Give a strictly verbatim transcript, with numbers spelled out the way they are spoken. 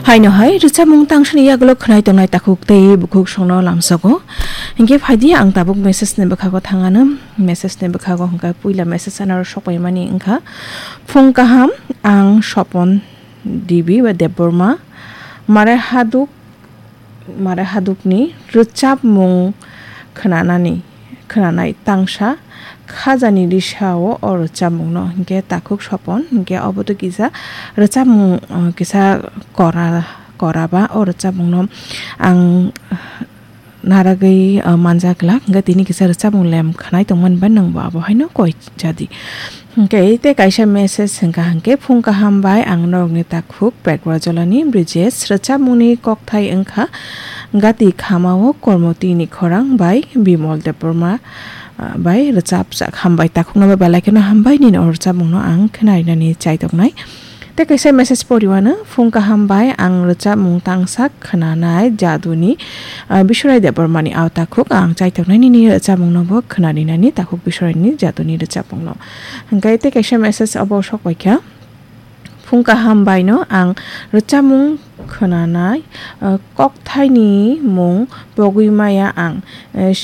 Haino hai rwchapmung tangsani yagulo khwnai tongnai takhuk tei bukhuk songno lamsogo. Hinkhe phaidi ang tabuk message ni bwkhago thangano. Message ni bwkhago hwnkha puila message anaro sokpaimani wngkha. Phung kaham, ang Sopon Devi ba Debbarma. Mare haduk, mare hadukni rwchapmung khwnanani, khwnanai tangsa khajani risao o rwchapmungno hinkhe takhuk Sopon hinkhe obo to kisa rwchapmung, uh, kisa kora, kora ba o rwchapmungno ang naragwi, uh, manjak glak hinkhe tini kisa rwchapmung lem khwnai tongmani ba nwngbo abo haino koi jadi. Hinkhe tei kaisa message hwnkha hinkhe, phung kaham bai ang norokni takhuk Pekrajolani Brijesh, rwchapmungni kokthai wngkha Gati Khamao Kormotini Khorang bai Bimol Debbarma, ah, bai rwchapjak. Hambai, takhukno bai belai kheno hambai, nini o rwchapmungno ang khwnarinani chaitoknai. Tei kaisa message poriwano, phung kaham bai ang rwchapmung tangsa khwnanai Jaduni, ah, Biswarai Debbarmani ao takhuk ang chaitoknai nini rwchapmungno bo khwnarinani takhuk Biswaraini Jaduni rwchapmungno. Hinkhe tei kaisa message obo sok paikha, phung kaham baino ang rwchapmung khwnanai, ah, kokthaini mung pogwi maya ang, eh,